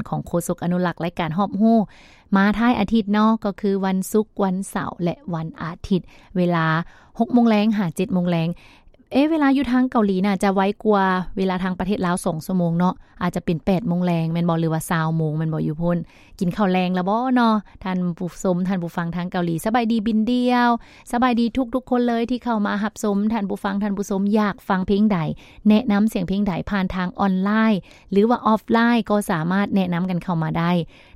ຂອງໂຄສົກອະນຸລັກລາຍການຮອບຮູ້ ມາທ້າຍອາທິດເນາະ ກໍຄືວັນສຸກ, ວັນເສົາ ແລະ ວັນອາທິດ ເວລາຫົກໂມງແລງຫາເຈັດໂມງແລງ. ເອະ ເວລາຢູ່ທາງເກົາຫຼີໜ້າຈະໄວກວ່າເວລາທາງປະເທດລາວສອງຊົ່ວໂມງເນາະ, ອາດຈະເປັນແປດໂມງແລງແມ່ນບໍ່ ຫຼືວ່າຊາວໂມງແມ່ນບໍ່ຢູ່ພຸ້ນ. ກິນເຂົ້າແລງແລ້ວບໍ່ເນາະ ທ່ານຜູ້ຊົມ, ທ່ານຜູ້ຟັງທາງເກົາຫຼີ? ສະບາຍດີບິນດ່ຽວ, ສະບາຍດີທຸກໆຄົນເລີຍທີ່ເຂົ້າມາຮັບຊົມ. ທ່ານຜູ້ຟັງ, ທ່ານຜູ້ຊົມຢາກຟັງເພງໃດ, ແນະນຳສຽງເພງໃດ ຜ່ານທາງອອນລາຍ ຫຼືວ່າອອຟລາຍ ກໍສາມາດແນະນຳກັນເຂົ້າມາໄດ້.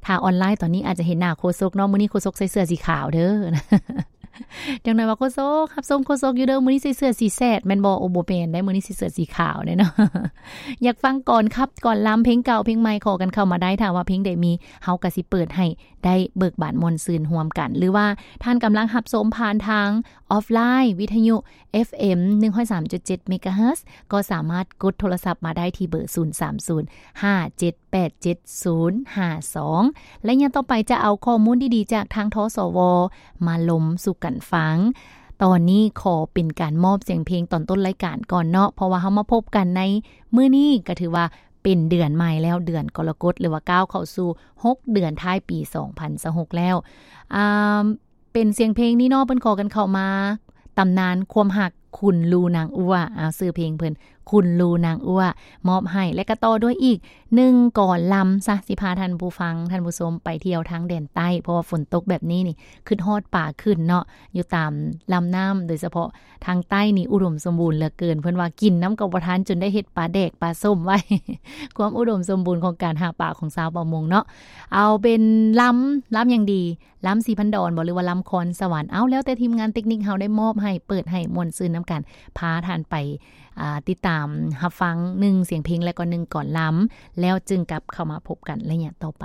ຖ້າອອນລາຍຕອນນີ້ອາດຈະເຫັນໜ້າໂຄສົກເນາະ, ມື້ນີ້ໂຄສົກໃສ່ເສື້ອສີຂາວເດີ. ຈັກໜ່ອຍວ່າ ໂຄສົກ ຮັບຊົມໂຄສົກຢູ່ເດີ, ມື້ນີ້ໃສ່ເສື້ອສີແຊດແມ່ນບໍ່? ໂອ້ ບໍ່ແມ່ນໄດ໋, ມື້ນີ້ໃສ່ເສື້ອສີຂາວເດ້ເນາະ. ຢາກຟັງກອນຂັບກອນລຳ ເພງເກົ່າເພງໃໝ່ ຂໍກັນເຂົ້າມາໄດ້. ຖ້າວ່າເພງໃດມີ ເຮົາກໍຊິເປີດໃຫ້ໄດ້ເບີກບານມ່ວນຊື່ນຮ່ວມກັນ. ຫຼືວ່າທ່ານກຳລັງຮັບຊົມຜ່ານທາງອອຟລາຍ ວິທະຍຸ ເອັຟເອັມ ໜຶ່ງຮ້ອຍສາມຈຸດເຈັດ ເມກາເຮີດ ກໍສາມາດກົດໂທລະສັບມາໄດ້ທີ່ເບີ ສູນສາມສູນ ຫ້າເຈັດ ແປດເຈັດສູນຫ້າສອງ ໄລຍະຕໍ່ໄປຈະເອົາຂໍ້ມູນດີໆຈາກທາງ ທສວ ມາລົມສູ່ກັນຟັງ. ຕອນນີ້ຂໍເປັນການມອບສຽງເພງຕອນຕົ້ນລາຍການກ່ອນເນາະ, ເພາະວ່າເຮົາມາພົບກັນໃນມື້ນີ້ກໍຖືວ່າເປັນເດືອນໃໝ່ແລ້ວ, ເດືອນກໍລະກົດ ຫຼືວ່າກ້າວເຂົ້າສູ່ຫົກເດືອນທ້າຍປີສອງພັນຊາວຫົກແລ້ວ. ອາ ເປັນສຽງເພງນີ້ເນາະ ເພິ່ນຂໍກັນເຂົ້າມາ, ຕຳນານຄວາມຮັກ ຄຸນລູນາງອົວ. ເອົາ ຊື່ເພງເພິ່ນ ຄຸນລູນາງອົວ ມອບໃຫ້ ແລະ ກະຕໍ່ດ້ວຍອີກໜຶ່ງກອນລຳຊະ ຊິພາທ່ານຜູ້ຟັງ ທ່ານຜູ້ຊົມໄປທ່ຽວທາງແດນໃຕ້, ເພາະວ່າຝົນຕົກແບບນີ້ນີ້ ຄຶດຮອດປາຂຶ້ນເນາະ ຢູ່ຕາມລຳນ້ຳ, ໂດຍສະເພາະທາງໃຕ້ນີ້ອຸດົມສົມບູນເຫຼືອເກີນ. ເພິ່ນວ່າກິນນ້ຳກໍບໍ່ທັນ ຈົນໄດ້ເຮັດປາແດກປາສົ້ມໄວ້. ຄວາມອຸດົມສົມບູນຂອງການຫາປາຂອງຊາວປະມົງເນາະ. ເອົາເປັນລຳ, ລຳຫຍັງດີ? ລຳສີພັນດອນບໍ ຫຼືວ່າລຳຄອນສະຫວັນ? ເອົາ ແລ້ວແຕ່ທີມງານເຕັກນິກເຮົາໄດ້ມອບໃຫ້, ເປີດໃຫ້ມ່ວນຊື່ນນຳກັນ, ພາທ່ານໄປ ອ່າ ຕິດຕາມຮັບຟັງໜຶ່ງສຽງເພງ ແລະ ກໍໜຶ່ງກອນລຳ, ແລ້ວຈຶ່ງກັບເຂົ້າມາພົບກັນໄລຍະຕໍ່ໄປ.